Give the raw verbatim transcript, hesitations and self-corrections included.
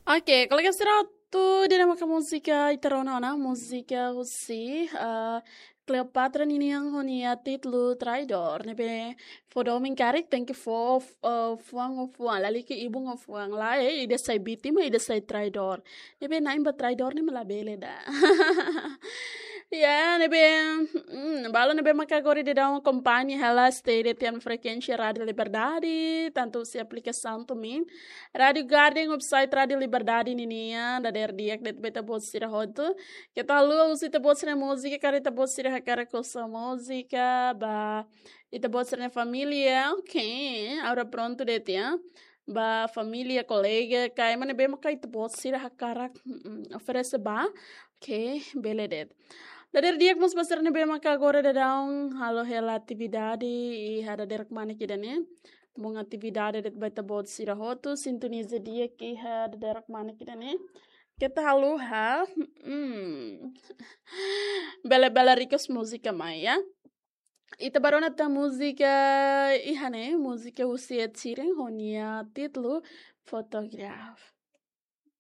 Oke, kolega sira hotu, ida-ne'e maka múzika ita rona ona, múzika husi, eh, Cleopatra ninian ho nia títulu Traidór. Ne'ebé fó domin karik, tenke fó, eh, fuan ho fuan, lalika ibun ho fuan. Lae, ida sai vítima, ida sai traidór. Ne'ebé na'in ba traidór ne'e mak labele ida. Ya, ne'ebé, mm, balu ne'ebé maka agora daudaun akompaña hela sei de'it iha frekuénsia Rádiu Liberdade, tantu husi aplikasaun TuneIn, Rádiu Garden, website Rádiu Liberdade ninian, dadeer di'ak de'it ba ita-boot sira hotu. Keta haluha husu ita-boot sira-nia múzika, karik ita-boot sira hakarak husu múzika ba ita-boot sira-nia família, oke, agora prontu de'it ya. Ba família, kolega, ka ema ne'ebé maka ita-boot sira hakarak, mm, oferese ba, oke, bele de'it. Dadeer di'ak mós ba sira ne'ebé maka agora daudaun halo hela atividade iha dadeer-kmanek ida-ne'e. Bom atividade de'it ba ita-boot sira hotu, sintoniza di'ak iha dadeer-kmanek ida-ne'e. Keta haluha, mm, bele-bele request múzika mai, ya. Ita bá rona tan múzika iha ne'e, múzika husi Ed Sheeran, ho nia títulu Photograph.